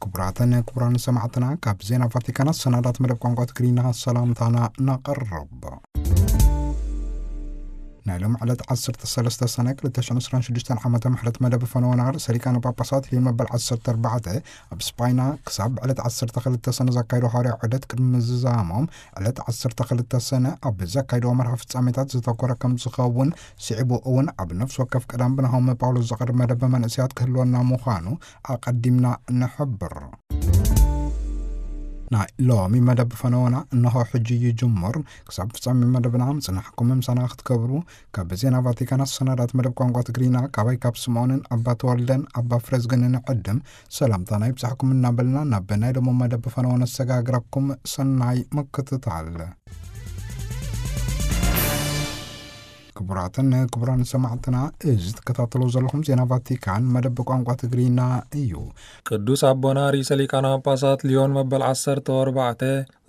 ክቡራትን ክቡራን ሰማዕትና፣ ካብ ዜና ቫቲካን ኣሰናዳት መደብ ቋንቋ ትግርኛ ሰላምታና ነቕርብ። ናይ ሎም ዕለት ዓሰርተ ሰለስተ ሰነ ክልተ ሽሕን ዕስራን ሽዱሽተን ዓመተ ምሕረት መደብ ፈነወና ርእሰ ሊቃነ ጳጳሳት ሊዮን መበል ዓሰርተ ኣርባዕተ ኣብ ስጳይና ክሳብ ዕለት ዓሰርተ ክልተ ሰነ ዘካይዶ ሃዋርያ ዑደት ቅድሚ ምዝዛሞም፣ ዕለት ዓሰርተ ክልተ ሰነ ኣብ ዘካይዶ መርሃ ፍጻሜታት ዝተኮረ ከም ዝኸውን፣ ስዒቡ እውን ኣብ ነፍሲ ወከፍ ቀዳም ብናሆም ጳውሎስ ዝቐርብ መደብ መንእሰያት ክህልወና ምዃኑ ኣቐዲምና ንሕብር። ናይ ሎሚ መደብ ፈነወና እንሆ ሕጂ ይጅምር። ክሳብ ፍጻሜ መደብና ምጽናሕኩም ምሳና ክትገብሩ ካብ ዜና ቫቲካን ኣሰናዳት መደብ ቋንቋ ትግርኛ ካባይ ካብ ስምዖንን ኣባ ተወልደን ኣባ ፍረዝግንን ዕድም ሰላምታና ይብጻሕኩም እናበልና ናብ ናይ ሎሚ መደብ ፈነወ ነሰጋግረኩም። ሰናይ ምክትታል። ክቡራትን ክቡራን ሰማዕትና፣ እዚ ትከታተሉ ዘለኹም ዜና ቫቲካን መደብ ቋንቋ ትግርኛ እዩ። ቅዱስ ኣቦና ርእሰ ሊቃነ ጳጳሳት ሊዮን መበል ዓሰርተ ኣርባዕተ፣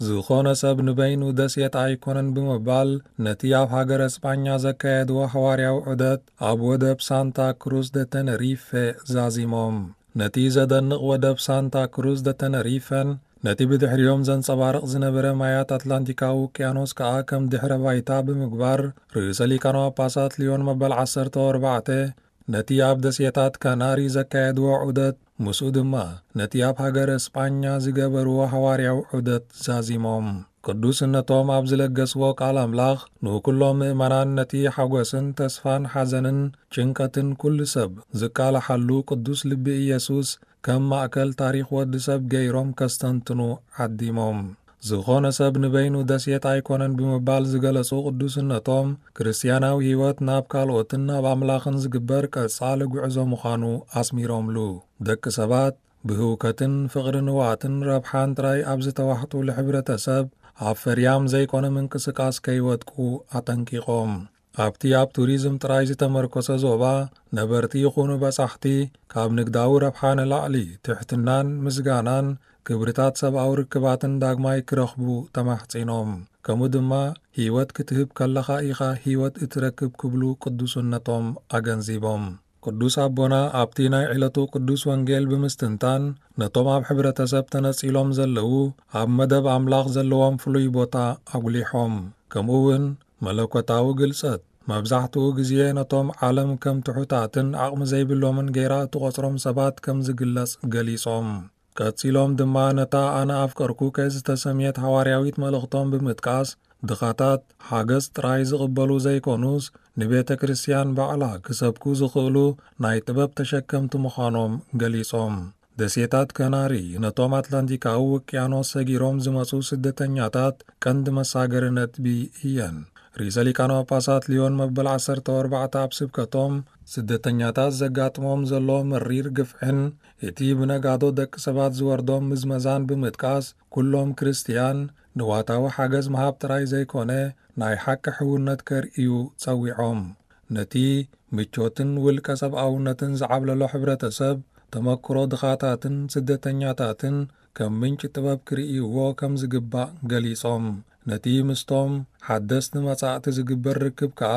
ዝኾነ ሰብ ንበይኑ ደሴት ኣይኮነን ብምባል፣ ነቲ ኣብ ሃገረ እስጳኛ ዘካየድዎ ሃዋርያዊ ዑደት ኣብ ወደብ ሳንታ ክሩዝ ደ ተነሪፈ ዛዚሞም። ነቲ ዘደንቕ ወደብ ሳንታ ክሩዝ ደ ተነሪፈን ነቲ ብድሕሪኦም ዘንጸባርቕ ዝነበረ ማያት ኣትላንቲካዊ ውቅያኖስ ከኣ ከም ድሕረ ባይታ ብምግባር፣ ርእሰ ሊቃነ ጳጳሳት ሊዮን መበል ዓሰርተ ኣርባዕተ ነቲ ኣብ ደሴታት ካናሪ ዘካየድዎ ዑደት፣ ምስኡ ድማ ነቲ ኣብ ሃገረ እስጳኛ ዝገበርዎ ሃዋርያዊ ዑደት ዛዚሞም። ቅዱስነቶም ኣብ ዝለገስዎ ቃል ኣምላኽ፣ ንኩሎም ምእመናን ነቲ ሓጎስን ተስፋን ሓዘንን ጭንቀትን ኩሉ ሰብ ዝቃላሓሉ ቅዱስ ልቢ ኢየሱስ ከም ማእከል ታሪኽ ወዲ ሰብ ገይሮም ከስተንትኑ ዓዲሞም። ዝኾነ ሰብ ንበይኑ ደሴት ኣይኮነን ብምባል ዝገለጹ ቅዱስነቶም፣ ክርስትያናዊ ህይወት ናብ ካልኦትን ናብ ኣምላኽን ዝግበር ቀጻሊ ጉዕዞ ምዃኑ ኣስሚሮምሉ። ደቂ ሰባት ብህውከትን ፍቕሪ ንዋትን ረብሓን ጥራይ ኣብ ዝተዋሕጡሉ ሕብረተሰብ፣ ኣብ ፈርያም ዘይኮነ ምንቅስቃስ ከይወድቁ ኣጠንቂቖም። ኣብቲ ኣብ ቱሪዝም ጥራይ ዝተመርኮሰ ዞባ፣ ነበርቲ ይኹኑ በጻሕቲ፣ ካብ ንግዳዊ ረብሓ ንላዕሊ ትሕትናን ምስጋናን ክብርታት ሰብኣዊ ርክባትን ዳግማይ ክረኽቡ ተማሕጺኖም። ከምኡ ድማ፣ ህይወት ክትህብ ከለኻ ኢኻ ህይወት እትረክብ ክብሉ ቅዱስነቶም ኣገንዚቦም። ቅዱስ ኣቦና ኣብቲ ናይ ዕለቱ ቅዱስ ወንጌል ብምስትንታን፣ ነቶም ኣብ ሕብረተሰብ ተነጺሎም ዘለዉ ኣብ መደብ ኣምላኽ ዘለዎም ፍሉይ ቦታ ኣጉሊሖም። ከምኡ እውን መለኮታዊ ግልጸት መብዛሕትኡ ግዜ ነቶም ዓለም ከም ትሑታትን ዓቕሚ ዘይብሎምን ገይራ እትቖጽሮም ሰባት ከም ዝግለጽ ገሊጾም። ቀጺሎም ድማ ነታ ኣነ ኣፍቀርኩከ ዝተሰምየት ሃዋርያዊት መልእኽቶም ብምጥቃስ፣ ድኻታት ሓገዝ ጥራይ ዝቕበሉ ዘይኮኑስ፣ ንቤተ ክርስቲያን ባዕላ ክሰብኩ ዝኽእሉ ናይ ጥበብ ተሸከምቲ ምዃኖም ገሊጾም። ደሴታት ከናሪ ነቶም ኣትላንቲካዊ ውቅያኖስ ሰጊሮም ዝመጹ ስደተኛታት ቀንዲ መሳገሪ ነጥቢ እየን። ርእሰ ሊቃነ ጳጳሳት ሊዮን መበል ዓሰርተ ኣርባዕተ ኣብ ስብከቶም፣ ስደተኛታት ዘጋጥሞም ዘሎ መሪር ግፍዕን እቲ ብነጋዶ ደቂ ሰባት ዝወርዶም ምዝመዛን ብምጥቃስ፣ ኩሎም ክርስትያን ንዋታዊ ሓገዝ ምሃብ ጥራይ ዘይኮነ፣ ናይ ሓቂ ሕውነት ከርእዩ ጸዊዖም። ነቲ ምቾትን ውልቀ ሰብኣውነትን ዝዓብለሎ ሕብረተሰብ፣ ተመክሮ ድኻታትን ስደተኛታትን ከም ምንጪ ጥበብ ክርእይዎ ከም ዝግባእ ገሊጾም። ነቲ ምስቶም ሓደስቲ መጻእቲ ዝግበር ርክብ ከኣ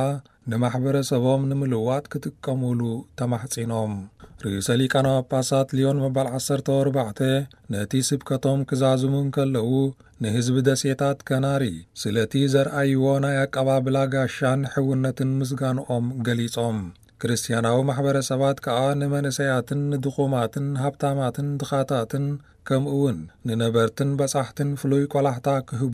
ንማሕበረሰቦም ንምልዋጥ ክጥቀሙሉ ተማሕጺኖም። ርእሰ ሊቃነ ጳጳሳት ሊዮን መበል ዓሰርተ ኣርባዕተ ነቲ ስብከቶም ክዛዝሙ እንከለዉ፣ ንህዝቢ ደሴታት ከናሪ ስለቲ ዘርኣይዎ ናይ ኣቀባብላ ጋሻን ሕውነትን ምስጋንኦም ገሊጾም። ክርስትያናዊ ማሕበረሰባት ከኣ ንመንእሰያትን ንድኹማትን ሃብታማትን ድኻታትን ከምኡውን ንነበርትን በጻሕትን ፍሉይ ቆላሕታ ክህቡ